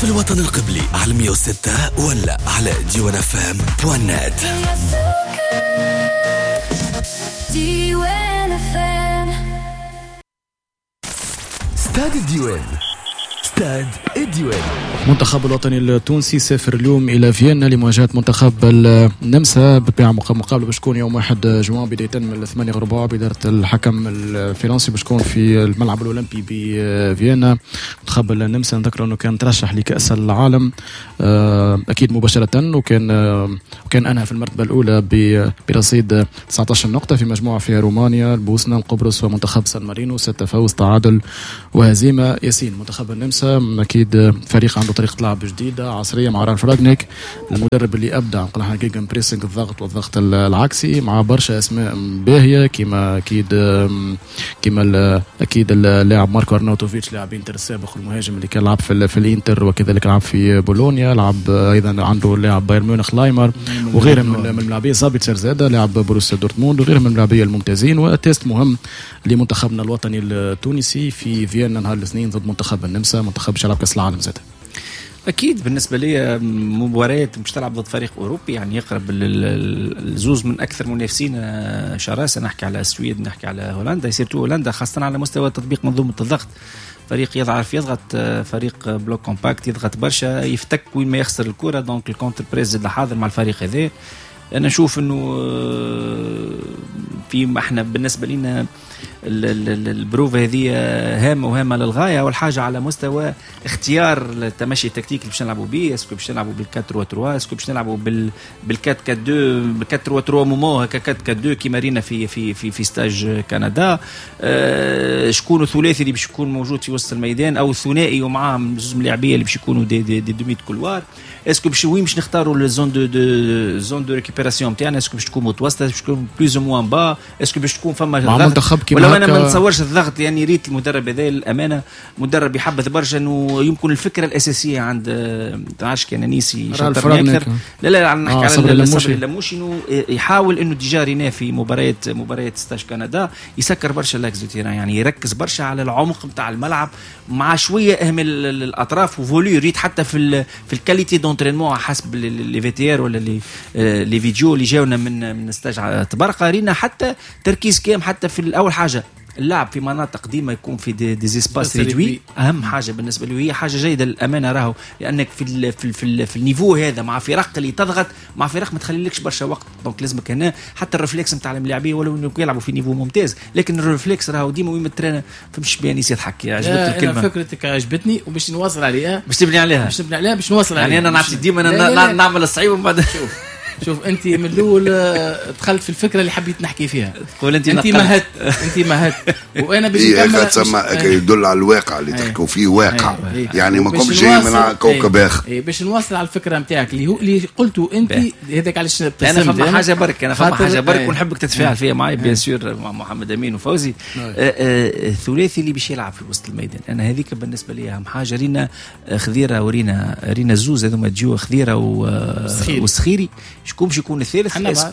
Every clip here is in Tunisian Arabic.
في الوطن القبلي على 106 ولا على ديوان FM point net. ديوان FM. استاد الديوان، استاد الديوان. المنتخب الوطني التونسي سافر اليوم الى فيينا لمواجهة منتخب النمسا، بالطبيعة مقابله باش تكون يوم 1 جوان بداية من 8:15 بادارة الحكم الفرنسي، باش تكون في الملعب الاولمبي بفيينا. منتخب النمسا نذكر انه كان ترشح لكاس العالم اكيد مباشرة، وكان انهى في المرتبة الاولى برصيد 19 نقطة في مجموعة فيها رومانيا، البوسنة، القبرص ومنتخب سان مارينو، 6 فوز، تعادل وهزيمة. ياسين، منتخب النمسا اكيد فريق عنده طريقه لعب جديدة عصرية مع رالف راجنيك، المدرب اللي ابدع نقول احنا gegenpressing، الضغط والضغط العكسي، مع برشا اسماء باهيه كيما اكيد كيما اكيد اللاعب ماركو ارناوتوفيتش، لاعب انتر السابق والمهاجم اللي كان لعب في الانتر وكذلك لعب في بولونيا، لعب ايضا عنده لاعب بايرن ميونخ لايمر وغيرهم من اللاعبين، زابيتسر زاده لاعب بروسيا دورتموند وغيرهم من اللاعبين الممتازين. و test مهم لمنتخبنا الوطني التونسي في فيينا نهار الاثنين ضد منتخب النمسا، منتخب شلعب كاس العالم زاد. اكيد بالنسبة لي مباريات مش تلعب ضد فريق اوروبي، يعني يقرب الزوز من اكثر منافسين شراسة، نحكي على السويد، نحكي على هولندا، surtout هولندا خاصة على مستوى تطبيق منظومة الضغط. فريق يضعف يضغط، فريق bloc compact يضغط برشا، يفتك وين ما يخسر الكره، donc ال contre-press زاد حاضر مع الفريق هذا. انا نشوف انه في احنا بالنسبة لنا البروفة هذه هامة وهامة للغاية. أول حاجة على مستوى اختيار التمشي التكتيكي اللي باش نلعبوا به، est-ce que باش نلعبوا بال 4-3، est-ce que باش نلعبوا بال 4-4-2، بال 4-3 مومو هكا 4-4-2 كيما رينا في في في في stage كندا. شكون الثلاثي اللي باش يكون موجود في وسط الميدان او الثنائي ومعاه زوج ملاعبيه اللي باش يكونوا des demis de couloir. est-ce que باش وين باش نختاروا ال zone de zone de récupération نتاعنا، est-ce que باش تكون متوسطه، باش تكون plus ou moins bas، est-ce que باش تكون فما منتخب ولو انا ما نتصورش الضغط. يعني ريت المدرب هذا للامانة مدرب يحبذ برشا انه يمكن الفكرة الاساسية عند تعرفش كان نيسي اكثر، لا لا نحكي على صبري اللموشي، انه يحاول انه déjà رينا في مباريات stage كندا يسكر برشا l'axe du terrain، يعني يركز برشا على العمق نتاع الملعب مع شوية اهمال الاطراف و voulu. ريت حتى في ال qualité d'entraînement حسب les VTR ولا les vidéos اللي جاونا من stage تبرقه، رينا حتى تركيز كام حتى في الاول حاجة اللعب في مناطق ديما يكون في des espaces réduits، اهم حاجة بالنسبة له، هي حاجة جيدة للامانة راهو، لانك في ال في ال في, ال في ال niveau هذا مع فرق اللي تضغط، مع فرق ما تخليلكش برشا وقت، donc لازمك هنا حتى ال réflexe نتاع الملاعبيه ولو انه يلعبوا في niveau ممتاز، لكن ال réflexe راهو ديما وين ترينا. فمش بيانيس يضحك، عجبتك الكلمة؟ فكرتك عجبتني وباش نواصل عليها، باش تبني عليها، باش نبني عليها، باش نواصل عليها. يعني انا نعطي ديما نعمل الصعيب ومن بعد شوف انت من الاول دخلت في الفكرة اللي حبيت نحكي فيها، تقول انت مهدت وانا باش نكمل. تسمى يدل على الواقع اللي تحكوا فيه، واقع يعني ما كنتش جاي من كوكب اخر. باش نواصل على الفكرة نتاعك اللي هو اللي قلته انت، هذاك علاش ابتسمت. انا فما حاجة برك، انا فما حاجة برك ونحبك تتفاعل فيها معي bien sûr مع محمد امين وفوزي. الثلاثي اللي باش يلعب في وسط الميدان، انا هذيك بالنسبة لي اهم حاجة. رينا خذيره ورينا رينا زوز هذوما تجيو خذيره والسخيري، شكون باش يكون الثالث؟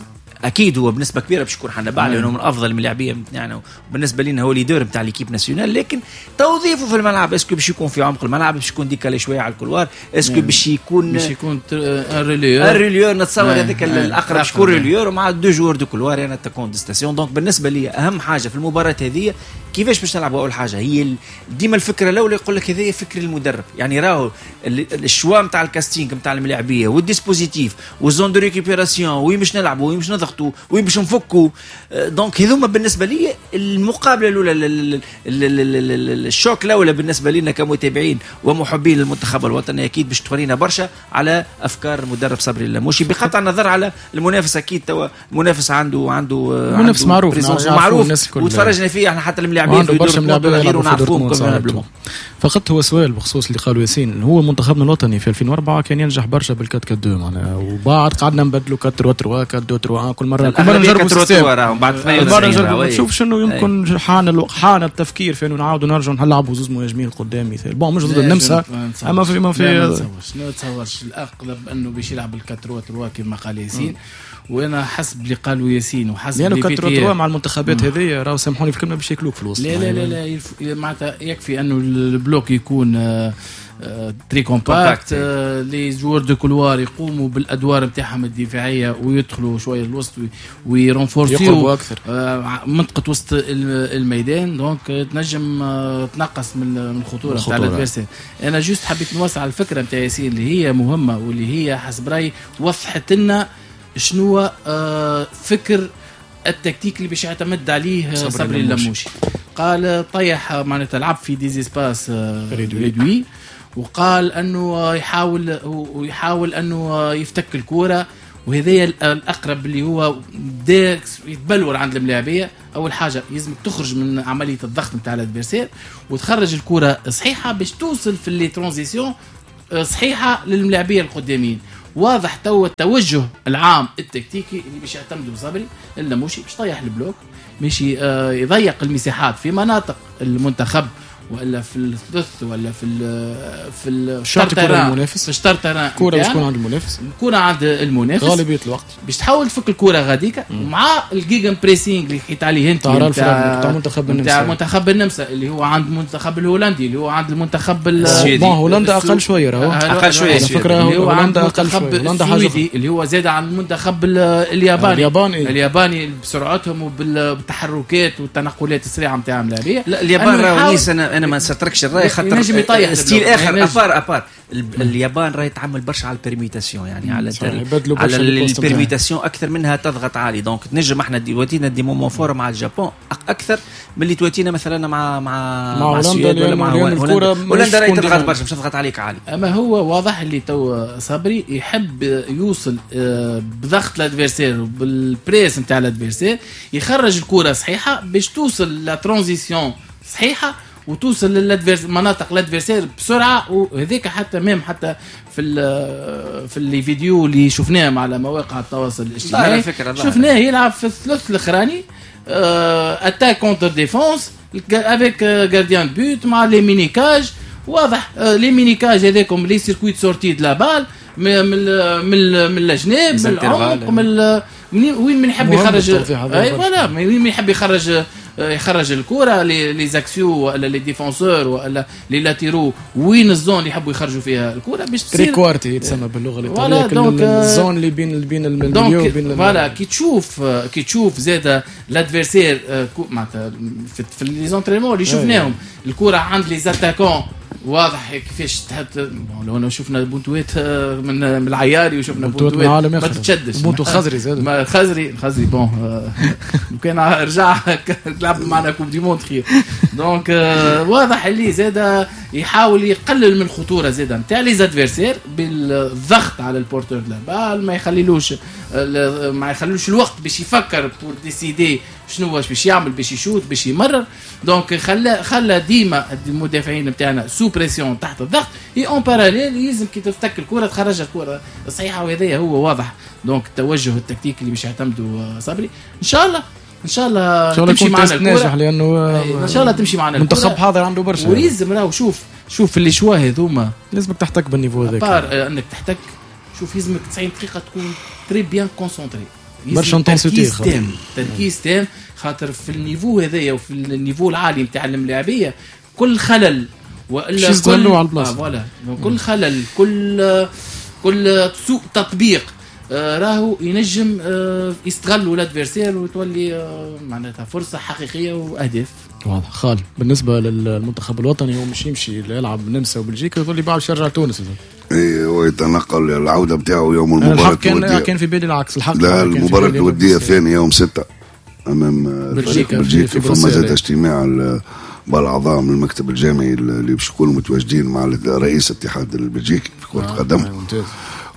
اكيد هو بنسبة كبيرة باش يكون حنبعل لانه من افضل اللاعبين يعني بالنسبة لنا هو leader نتاع l'équipe nationale، لكن توظيفه في الملعب est-ce que باش يكون في عمق الملعب، باش يكون décalé شوية على ال couloir، est-ce que باش يكون relayeur، relayeur نتصور هذاك الاقرب شكون relayeur ومع deux joueurs de couloir يعني attaquant de station. donc بالنسبة لي اهم حاجة في المباراة هذه كيفاش باش نلعبوا. اول حاجة هي ديما الفكرة الاولى يقول لك هذا فكر المدرب، يعني راهو ال choix نتاع ال casting نتاع الملاعبيه وال dispositif وال zone de récupération، وين باش نلعبوا، وين باش نضغطوا، وين باش نفكوا. donc هذوما بالنسبة لي المقابلة الاولى، ال choc الاولى بالنسبة لنا كمتابعين ومحبين للمنتخب الوطني، اكيد باش تورينا برشا على افكار المدرب صبري اللموشي، بقطع النظر على المنافس. اكيد توا المنافس عنده منافس معروف وتفرجنا فيه احنا حتى الملاعبين في دورتموند غيره نعرفوهم. فقط هو سؤال بخصوص اللي قالوا ياسين، هو منتخبنا الوطني في 2004 كان ينجح برشا بال 4-4-2 معناها، وبعد قعدنا نبدلوا 4-3 4-2-3 كل مرة كل مرة نجربوا système، بعد نجربوا نشوف شنو يمكن حان التفكير في انه نعاودوا نرجعوا نلعبوا زوز مهاجمين قدام مثال، bon مش ضد النمسا اما في ما في ما تصورش الاغلب انه باش يلعب ال 4-3 كما قال ياسين، وانا حسب اللي قالوا ياسين وحسب اللي 4-3 مع المنتخبات هذه راهو سامحوني في الكلمة باش ياكلوك في الوسط. لا لا لا لا، معناتها يكفي انه ال bloc يكون très compact، les joueurs de couloir يقوموا بالادوار نتاعهم الدفاعية ويدخلوا شوية الوسط وي renforcer يو اكثر منطقة وسط الميدان، donc تنجم تنقص من الخطورة نتاع ال adversaire. انا juste حبيت نوسع الفكرة نتاع ياسين اللي هي مهمة واللي هي حسب رايي وضحت لنا شنو فكر التكتيك اللي باش يعتمد عليه صبري اللموشي. قال طيح معناتها لعب في des espaces réduits، وقال انه يحاول انه يفتك الكورة، وهذا الاقرب اللي هو بدا يتبلور عند الملاعبيه. اول حاجة لازم تخرج من عملية الضغط نتاع ال adversaire وتخرج الكره صحيحه باش توصل في les transitions صحيحه للملاعبيه القدامين. واضح تو التوجه العام التكتيكي اللي باش يعتمدوا صبري اللموشي باش طيح ال bloc، ماشي يضيق المساحات في مناطق المنتخب ولا في الثلث ولا في الشوط المنافس، في شطر terrain كورة باش تكون عند المنافس، الكورة عند المنافس غالبية الوقت باش تحاول تفك الكورة غاديكا، ومع ال gegenpressing اللي حكيت عليه انت تاع منتخب النمسا، تاع منتخب النمسا اللي هو عند المنتخب الهولندي، اللي هو عند المنتخب السويدي. bon هولندا اقل شوية، راهو اقل شوية على فكرة، هولندا اقل شوية، هولندا حاجة اللي هو زاد عن المنتخب الياباني الياباني بسرعتهم وبالتحركات والتنقلات السريعة نتاعهم اللاعبيه. لا اليابان راهو انا ما نستركش الراي خاطر style اخر à part à part اليابان راهي تعمل برشا على ال permutation، يعني على ال permutation اكثر منها تضغط عالي. donc تنجم احنا تواتينا des moments forts مع اليابان اكثر من اللي تواتينا مثلا مع السويد ولا مع هولندا. هولندا راهي تضغط برشا باش تضغط عليك عالي. اما هو واضح اللي تو صبري يحب يوصل بضغط ال adversaire وبال press نتاع ال adversaire، يخرج الكره صحيحه باش توصل la transition صحيحه وتوصل لل adversaire مناطق ال adversaire بسرعة. وهذاك حتى même حتى في les vidéos اللي شفناهم على مواقع التواصل الاجتماعي شفناه يلعب في الثلث الاخراني attaque contre défense avec gardien de but مع les mini-cages. واضح les mini-cages هذاكم les circuits sortie de la balle من من الجناب من العمق من وين من يحب يخرج، اي voilà وين من يحب يخرج الكره les axiaux ولا les défenseurs ولا les latéraux، وين ال zone اللي يحبوا يخرجوا فيها الكره باش تصير trequarti يتسمى باللغة الايطالية، ال zone اللي بين ال milieu وبين voilà. كي تشوف زاد l'adversaire معناتها في les entraînements اللي شفناهم الكره عند les attaquants واضح كيفاش تحط. لو شفنا بونتوات من العياري وشفنا بونتوات ما تتشدش، بونتو خزري زاد ما خزري bon كان رجع لعب معنا coupe du monde خير. donc واضح اللي زاد يحاول يقلل من الخطورة زاد نتاع les adversaires بالضغط على ال porteur de la balle، ما يخليلوش الوقت باش يفكر pour décider شنو باش يعمل، باش يشوت باش يمرر. donc خلى ديما المدافعين نتاعنا sous pression تحت الضغط، et en parallèle لازم كي تفتك الكره تخرج الكره صحيحه، وهذا هو واضح. donc التوجه التكتيكي اللي باش يعتمدوا صبري ان شاء الله ان شاء الله تمشي معنا الكره، لانه ان شاء الله تمشي معنا الكره. منتخب حاضر عنده برشا ولازم راهو شوف les choix هذوما لازمك تحتك بال niveau هذاك، à part انك تحتك. شوف لازمك 90 دقيقة تكون très bien concentré، برشا intensité، تركيز تام، خاطر في ال niveau هذايا وفي ال niveau العالي نتاع الملاعبيه كل خلل والا كل على البلاصة voilà كل خلل كل سوء تطبيق راهو ينجم يستغلوا ال adversaire وتولي معناتها فرصة حقيقية واهداف. واضح خالد. بالنسبة للمنتخب الوطني هو مش يمشي يلعب النمسا وبلجيكا يقول لي بعد يرجع تونس. ايه هو يتنقل العودة بتاعه يوم المباراة الودية. كان في بالي العكس الحق. لا المباراة الودية الثانية يوم 6 امام بلجيكا. فما زاد اجتماع بالاعضاء من المكتب الجامعي اللي باش يكونوا متواجدين مع رئيس الاتحاد البلجيكي في كره القدم.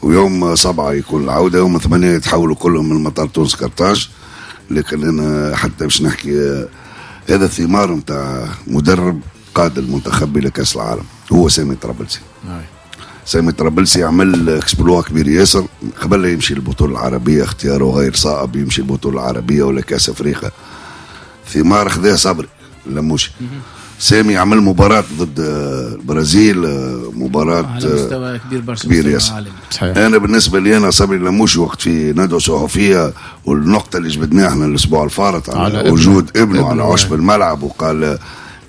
ويوم 7 يكون العودة، يوم 8 يتحولوا كلهم من مطار تونس قرطاج. لكن انا حتى باش نحكي هذا الثمار نتاع مدرب قاد المنتخب الى كاس العالم هو سامي طرابلسي. سامي طرابلسي عمل exploit كبير ياسر قبل لا يمشي البطولة العربية، اختياره غير صائب يمشي البطولة العربية ولا كاس افريقيا. ثمار خذاه صبري لموشي. سامي عمل مباراة ضد البرازيل، مباراة على مستوى كبير برشا، كبير ياسر. أنا بالنسبة لي أنا صبري لموشي وقت في ندوة صحفية والنقطة اللي جبدناها احنا الأسبوع الفارط على وجود ابنه على عشب الملعب، وقال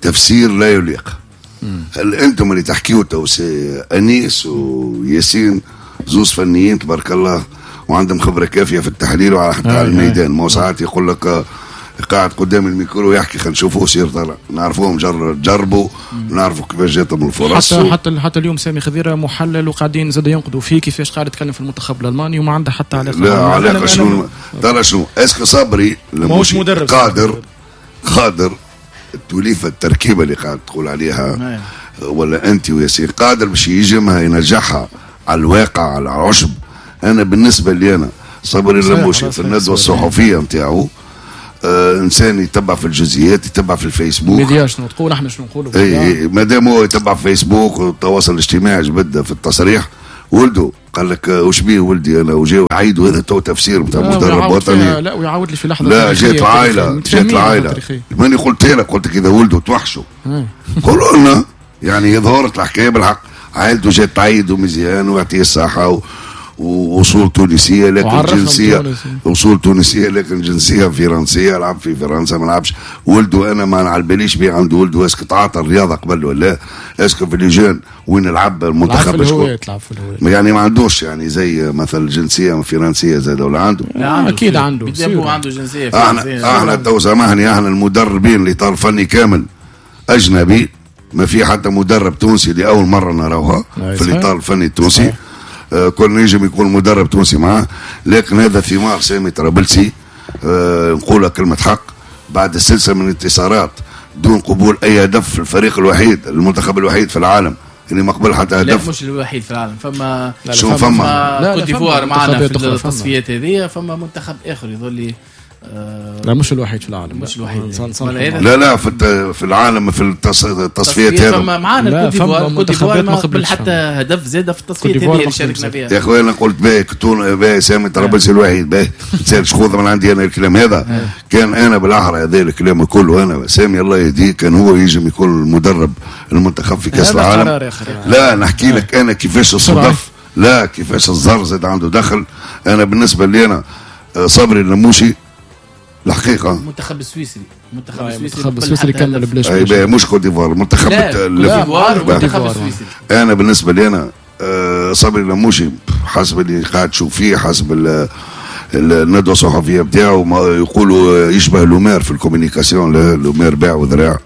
تفسير لا يليق. هل انتم اللي تحكيوا تو سي انيس وياسين زوز فنيين تبارك الله وعندهم خبره كافيه في التحليل وعلى حتى على الميدان، ما ساعات يقول لك قاعد قدام الميكرو يحكي، خلينا نشوفوه سير طلع، نعرفوهم جربوا، نعرفوا كيفاش جاتهم الفرص. حتى اليوم سامي خضيره محلل وقاعدين زاد ينقدوا فيه كيفاش قاعد يتكلم في المنتخب الالماني وما عنده حتى علاقة. لا علاقة شنو ترى شنو est-ce que صبري ماهوش مدرب قادر التوليفه التركيبة اللي قاعد تقول عليها ولا انت وياسين قادر باش يجمها ينجحها على الواقع على العشب. انا بالنسبة لي انا صبري اللموشي في الندوة الصحفية نتاعو انسان يتبع في الجزئيات، يتبع في الفيسبوك، ميديا شنو تقول احنا شنو نقولوا، اي مادام هو يتبع في فيسبوك والتواصل الاجتماعي جبد في التصريح ولده قال لك وش بيه ولدي انا وجاو عيد، وهذا تو تفسير نتاع مدرب وطني. لا ويعاود لي في لحظة، لا جات العائلة، جات العائلة ماني قلت لك، قلت لك اذا ولده توحشوا قولوا لنا، يعني ظهرت الحكاية بالحق، عائلته جات تعيد ومزيان ويعطيه الصحة وأصول تونسية لكن جنسية، أصول تونسية لكن جنسية فرنسية، لعب في فرنسا ما لعبش. ولده أنا ما نعلباليش بيه عنده ولده est-ce que تعاطى الرياضة قبل ولا est-ce que في les jeunes وين لعب المنتخب شكون يعني ما عندوش يعني زي مثلا جنسية فرنسية زاد ولا عنده؟ لا أكيد عنده، عنده جنسية فرنسية. احنا تو سامحني، احنا المدربين اللي طار فني كامل أجنبي، ما في حتى مدرب تونسي لأول مرة نراوها في الإطار الفني التونسي. كل نجم يكون مدرب تونسي معاه، لكن هذا ثمار سامي طرابلسي. نقولها كلمة حق، بعد السلسلة من الانتصارات دون قبول أي هدف في الفريق الوحيد، المنتخب الوحيد في العالم اللي ما قبل حتى هدف. لا مش الوحيد في العالم، فما شو فما كوت ديفوار معنا في التصفيات هذه، فما منتخب آخر يظل لا مش الوحيد في العالم، مش الوحيد. لا لا في العالم في التصفيات هذا فما معانا كوت ديفوار، كوت ديفوار ما قبل حتى هدف زاد في التصفيات هذه اللي شاركنا فيها. يا خويا انا قلت باهي باهي سامي طرابلسي الوحيد باهي، تسالش خذ من عندي انا الكلام هذا. كان انا بالاحرى هذا الكلام كله، انا سامي الله يهديه كان هو يجم يكون المدرب المنتخب في كاس العالم. لا نحكي لك انا كيفاش الصدف، لا كيفاش الزر زاد عنده دخل. انا بالنسبة لي انا صبري اللموشي الحقيقة المنتخب السويسري، المنتخب السويسري كمل بلاش، اي مش كوت ديفوار، المنتخب المنتخب السويسري. انا بالنسبة لي انا صبري اللموشي حسب اللي قاعد تشوف فيه، حسب الندوة الصحفية نتاعو يقولوا يشبه لومير في ال communication، لومير باع وذراع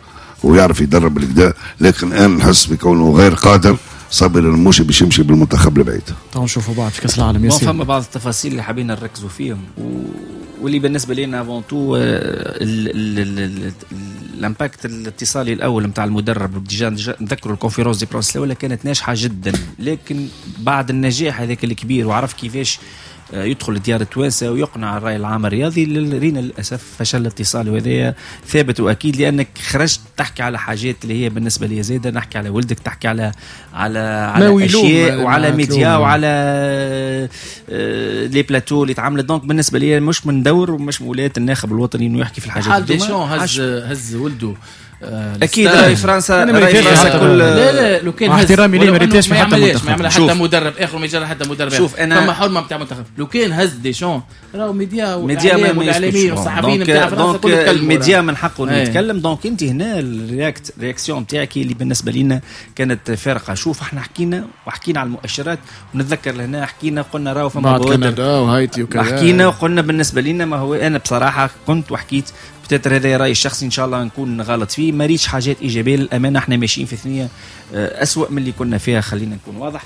ويعرف يدرب بالكدا، لكن انا نحس بكونه غير قادر صبري اللموشي باش يمشي بالمنتخب البعيد. تو نشوفوا بعد في كاس العالم ياسين. فما بعض التفاصيل اللي حابين نركزوا فيهم واللي بالنسبة لنا avant tout ال impact الاتصالي الاول نتاع المدرب، déjà نذكروا ال conférence de presse الاولى كانت ناجحة جدا، لكن بعد النجاح هذاك الكبير وعرف كيفاش يدخل ديار التوانسة ويقنع الراي العام الرياضي، رينا للاسف فشل الاتصال، وهذا ثابت واكيد، لانك خرجت تحكي على حاجات اللي هي بالنسبة لي زاده، نحكي على ولدك، تحكي على على على اشياء وعلى ميديا وعلى les plateaux اللي تعملت. donc بالنسبة لي مش من دور ومش ولاية الناخب الوطني انه يحكي في الحاجات دي. هز ولده اكيد راي فرنسا، راي فرنسا كل لا لا لو كان احترامي ليه ما ريتاش حتى منتخب، ما يعمل حتى مدرب اخر، ما يجرى حتى مدرب. شوف انا فما حرمه نتاع منتخب، لو كان هز ديشون راهو ميديا والاعلاميين والصحفيين نتاع فرنسا كل يتكلموا، الميديا من حقه انه يتكلم. donc انت هنا ال réaction نتاعك اللي بالنسبة لنا كانت فارقه. شوف احنا حكينا وحكينا على المؤشرات، ونتذكر لهنا حكينا قلنا راهو فما كندا وهايتي وكذا، حكينا وقلنا بالنسبة لنا ما هو انا بصراحة كنت وحكيت peut-être هذا رايي الشخصي ان شاء الله نكون غلط فيه، ما ريتش حاجات ايجابية للامانة. احنا ماشيين في ثنيه اسوأ من اللي كنا فيها، خلينا نكون واضح.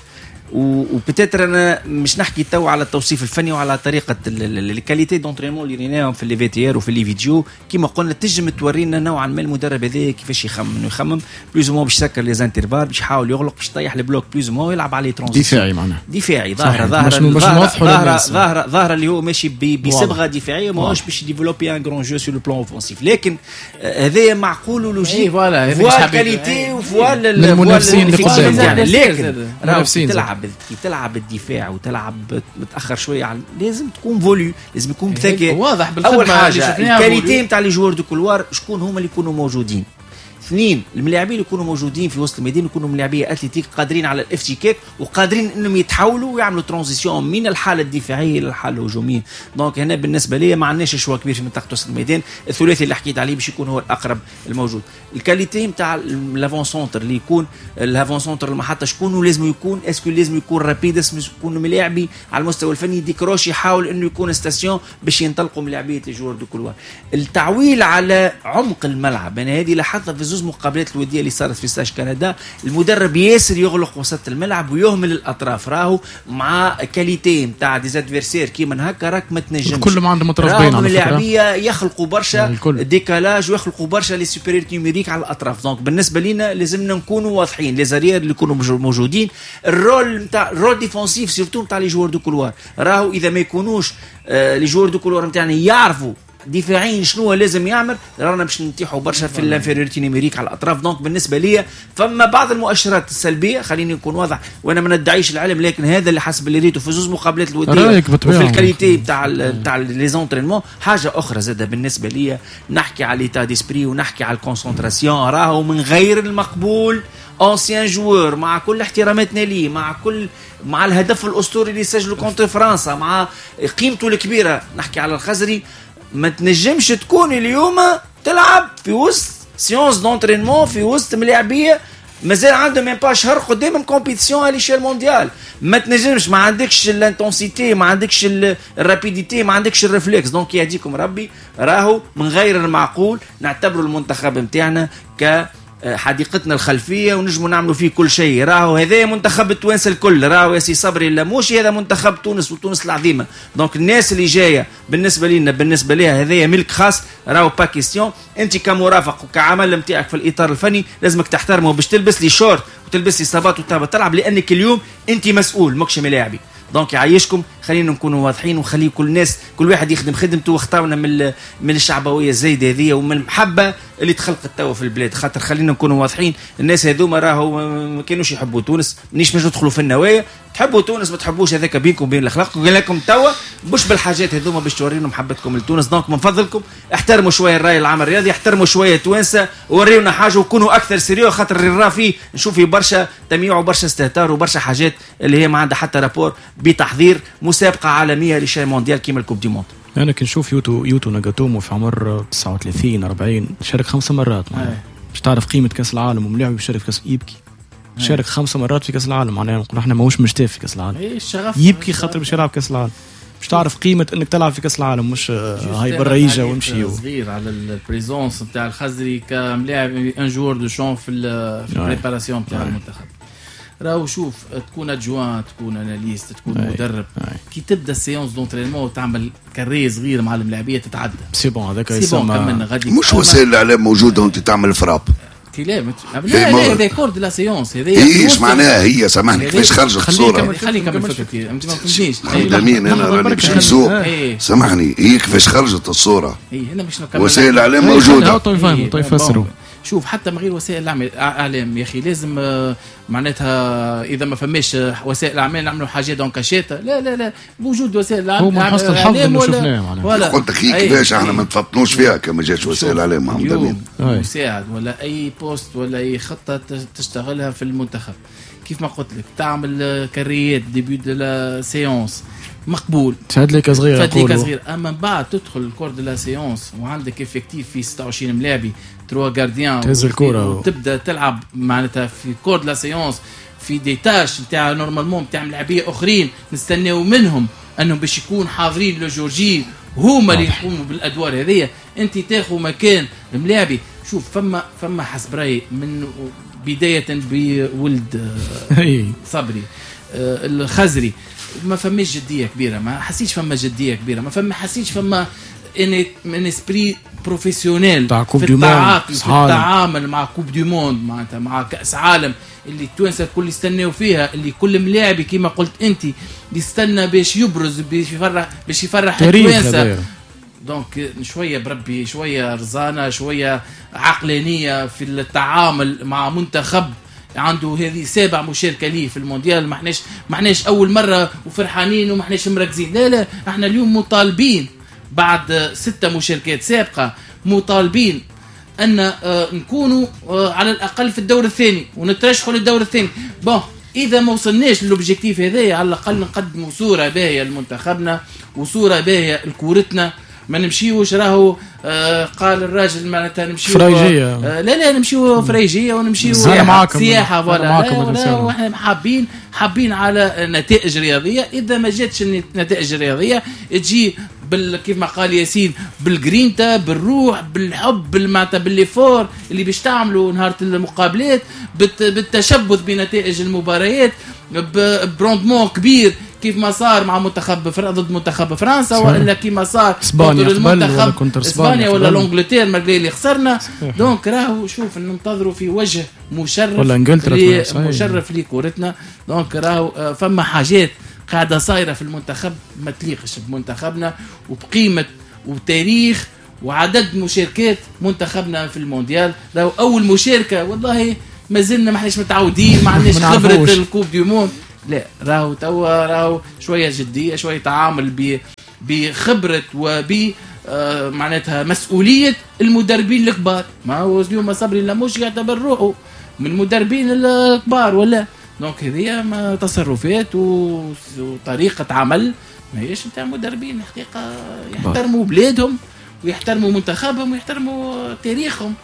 و peut-être انا مش نحكي تو على التوصيف الفني وعلى طريقه ال qualité d'entraînement اللي ريناهم في les VTR وفي les vidéos، كيما قلنا تنجم تورينا نوعا ما المدرب هذا كيفاش يخمم، يخمم plus ou moins باش يسكر les intervalles، باش يحاول يغلق، باش يطيح ال bloc plus ou moins، يلعب على transitions دفاعي، معناها دفاعي ظاهره ظاهره ظاهره ظاهره اللي هو ماشي بصبغه دفاعية، ماهوش باش développer un grand jeu sur le plan offensif. لكن هذايا معقول و logique، voilà qualité و voilà المنافسين اللي قدام. لكن تلعب كي تلعب الدفاع وتلعب متاخر شوية على لازم تكون voulu، لازم يكون بذكاء واضح. اول حاجة ال qualité نتاع les joueurs de couloir شكون هما اللي يكونوا موجودين. اثنين، الملاعبين اللي يكونوا موجودين في وسط الميدان يكونوا ملاعبيه athlétiques قادرين على الافتكاك وقادرين انهم يتحولوا ويعملوا transition من الحالة الدفاعية الى الحالة الهجومية. donc هنا بالنسبة لي ما عندناش choix كبير في منطقة وسط الميدان، الثلاثي اللي حكيت عليه باش يكون هو الاقرب الموجود. ال qualité نتاع l'avant-centre اللي يكون l'avant-centre المحطة شكون لازم يكون، est-ce que لازم يكون rapide، لازم يكون ملاعبي على المستوى الفني décroche، يحاول انه يكون station باش ينطلقوا ملاعبيه les joueurs de couloir. التعويل على عمق الملعب، انا هذه لاحظتها في زوز مقابلات الودية اللي صارت في stage كندا، المدرب ياسر يغلق وسط الملعب ويهمل الاطراف، راهو مع qualité نتاع des adversaires كيما هكا راك ما تنجمش. كل ما عندهم اطراف باين على فكرة، الملاعبيه يخلقوا برشا décalage ويخلقوا برشا les supériorités numériques على الاطراف. donc بالنسبة لنا لازمنا نكونوا واضحين، les arrières اللي يكونوا موجودين، ال rôle نتاع ال rôle défensif surtout نتاع les joueurs de couloir، راهو اذا ما يكونوش les joueurs de couloir نتاعنا يعرفوا دفاعيا شنو لازم يعمل، رانا باش نتيحوا برشا في l'infériorité numérique على الاطراف. donc بالنسبة لي فما بعض المؤشرات السلبية، خليني نكون واضح وانا ما ندعيش العلم، لكن هذا اللي حسب اللي ريته في زوز مقابلات الودية وفي ال qualité تاع les entraînements. حاجة اخرى زاده بالنسبة لي، نحكي على l'état d'esprit ونحكي على ال concentration، راهو من غير المقبول ancien joueur مع كل احتراماتنا ليه، مع الهدف الاسطوري اللي سجله contre فرنسا، مع قيمته الكبيرة، نحكي على الخزري، ما تنجمش تكون اليوم تلعب في وسط séance d'entraînement في وسط ملاعبيه مازال عندهم même pas شهر قدامهم compétition à l'échelle mondiale. ما تنجمش، ما عندكش l'intensité، ما عندكش ال rapidité، ما عندكش ال réflexe. donc يهديكم ربي، راهو من غير المعقول نعتبروا المنتخب نتاعنا ك حديقتنا الخلفية ونجموا نعملوا فيه كل شيء. راهو هذا منتخب التوانسة الكل، راهو يا سي صبري اللاموشي هذا منتخب تونس وتونس العظيمة. donc الناس اللي جاية بالنسبة لنا بالنسبة لها هذايا ملك خاص، راهو pas question. انت كمرافق وكعمل نتاعك في الاطار الفني لازمك تحترمه باش تلبس les shorts وتلبس les sabots وتهبط تلعب، لانك اليوم انت مسؤول ماكش ملاعبي. donc يعيشكم، خلينا نكونوا واضحين وخلي كل الناس كل واحد يخدم خدمته، واختارنا من الشعبوية الزايدة هذه ومن المحبة اللي تخلقت توا في البلاد. خاطر خلينا نكونوا واضحين، الناس هذوما راهو ما كانوش يحبوا تونس، مانيش باش ندخلوا في النوايا، تحبوا تونس ما تحبوش هذاك بينكم وبين الاخلاق. قلنا لكم توا مش بالحاجات هذوما باش تورينا محبتكم لتونس. donc من فضلكم احترموا شوية الراي العام الرياضي، احترموا شوية توانسة، وريونا حاجة وكونوا اكثر sérieux، خاطر اللي راه فيه نشوف فيه برشا تمييع وبرشا استهتار وبرشا حاجات اللي هي ما عندها حتى rapport بتحضير مسابقة عالمية à l'échelle mondiale كيما ال coupe du monde. انا كي نشوف يوتو ناغاتومو في عمر 39 40 شارك 5 مرات باش تعرف قيمة كاس العالم، وملاعب يشارك في كاس يبكي، شارك 5 مرات في كاس العالم، معناها نقول احنا ماهوش مشتاف في كاس العالم، يبكي خاطر باش يلعب كاس العالم، باش تعرف قيمة انك تلعب في كاس العالم، مش هاي برا يجا وامشي. صغير على ال présence نتاع الخزري كملاعب un joueur de champ في ال préparation نتاع المنتخب. راهو شوف، تكون adjoint، تكون analyste، تكون مدرب، كي تبدا ال séance d'entraînement وتعمل carré صغير مع الملاعبيه تتعدى c'est bon، هذاك يسمى مش وسائل الاعلام موجودة وانت تعمل frappe. لا لا هذا cours de la séance، هذا ايش معناها هي؟ سامحني كيفاش خرجت الصورة؟ خليني نكمل فكرتي، انت ما فهمتنيش. امين انا راني باش نسوق، سامحني، هي كيفاش خرجت الصورة؟ اي انا باش نكمل. وسائل الاعلام موجودة. طيب فسروا. شوف حتى من غير وسائل الاعلام يا اخي، لازم معناتها اذا ما فماش وسائل الاعلام نعملوا حاجات en cachette. لا لا لا، بوجود وسائل الاعلام هو من حسن الحظ انه شفناه معناها. قلت لك كيفاش احنا ما نتفطنوش فيها كما جاتش وسائل الاعلام محمد امين. مساعد ولا اي poste ولا اي خطه تشتغلها في المنتخب، كيف ما قلت لك تعمل carré ات début de la séance مقبول، تفادلك صغير، تفادلك صغير، اما من بعد تدخل ال cours de la séance وعندك effectif في 26 ملاعبي 3 gardiens، تهز الكره وتبدا تلعب معناتها في cours de la séance في des tâches نتاع normalement نتاع ملاعبيه اخرين نستناو منهم انهم باش يكون حاضرين le jour J، هما اللي يقوموا بالادوار هذيا. انت تاخذ مكان الملاعبي. شوف فما حسب رايي من بداية بولد صبري الخزري ما فماش جدية كبيرة، ما حسيتش فما جدية كبيرة، ما حسيتش فما un esprit professionnel في التعاطي في التعامل مع coupe du monde، معناتها مع كاس عالم اللي التوانسة الكل يستناو فيها، اللي كل ملاعبي كيما قلت انت يستنى باش يبرز، باش يفرح التوانسة. donc شوية بربي، شوية رزانه، شوية عقلانية في التعامل مع منتخب عنده هذه 7 مشاركة ليه في المونديال. ما احناش اول مرة وفرحانين وما احناش مركزين، لا لا، احنا اليوم مطالبين بعد 6 مشاركات سابقه، مطالبين ان نكونوا على الاقل في الدور الثاني ونترشحوا للدور الثاني. bon اذا ما وصلناش لل objectif هذايا على الاقل نقدموا صوره باهيه لمنتخبنا وصوره باهيه لكورتنا. ما نمشيوش راهو قال الراجل معناتها نمشيو فرايجيه، لا نمشيو فرايجيه ونمشيو سياحة voilà. واحنا حابين على نتائج رياضية. اذا ما جاتش النتائج الرياضية تجي كيف ما قال ياسين بالجرينتا، بالروح، بالحب، معناتها بال l'effort اللي باش تعملوا نهار المقابلات، بالتشبث بنتائج المباريات، ب rendement كبير كيف ما صار مع منتخب ضد منتخب فرنسا، والا كيما صار اسبانيا ولا contre اسبانيا ولا l'Angleterre malgré اللي خسرنا. donc راهو شوف ننتظروا في وجه مشرف ولا انجلترا مشرف لكورتنا. donc راهو فما حاجات قاعدة صايرة في المنتخب ما تليقش بمنتخبنا وبقيمه وتاريخ وعدد مشاركات منتخبنا في المونديال. راهو اول مشاركة والله ما زلنا ما احناش متعودين، ما عندناش خبره ال coupe du monde. لا راهو توا راهو شوية جدية، شوية تعامل بخبره وب معناتها مسؤولية المدربين الكبار. ما هو اليوم صبري لموش يعتبر روحه من المدربين الكبار ولا؟ donc هذه تصرفات وطريقه عمل ماهيش نتاع مدربين الحقيقة يحترموا بلادهم ويحترموا منتخبهم ويحترموا تاريخهم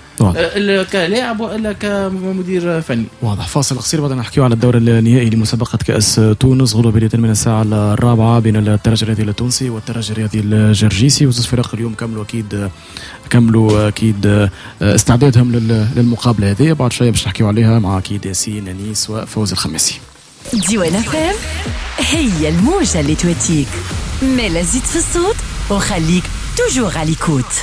كلاعب والا كمدير فني. واضح. فاصل قصير بعد نحكيو على الدور النهائي لمسابقه كاس تونس غدوه بداية من الساعة 4 بين الترجي الرياضي التونسي والترجي الرياضي الجرجيسي. وزوج فرق اليوم كملوا اكيد استعدادهم للمقابله هذه. بعد شوية باش نحكيو عليها مع اكيد ياسين انيس وفوز الخماسي. ديوان FM هي الموجه اللي تواتيك، مالا زيد في الصوت وخليك toujours à l'écoute.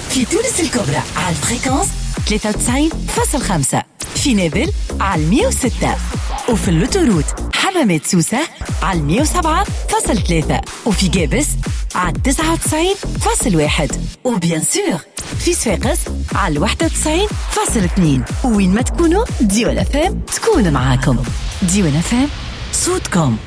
في تونس الكبرى على ال fréquence 93.5، في نابل على 106، وفي l'autoroute حمامات سوسة على 107.3، وفي جابس على 99.1، و bien sûr في صفاقس على 91.2. وين ما تكونوا ديوان FM تكون معاكم. ديوان FM صوتكم.